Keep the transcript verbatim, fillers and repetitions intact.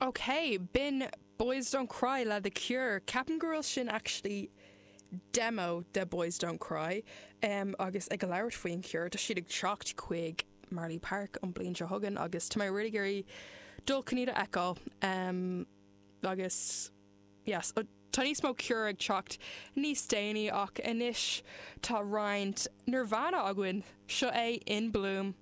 Ok, b'in Boys Don't Cry le The Cure. Ceapaim go bhfuil sin actually demo de Boys Don't Cry um, agus ag labhairt faoin Cure tá siad ag teacht chuig Marlay Park an bliain seo chugainn agus tá mé really ag iarraidh dul chun iad a fheiceáil um, agus yes, tá níos mó Cure ag teacht níos déanaí ach anois tá roinnt Nirvana againn seo é In Bloom.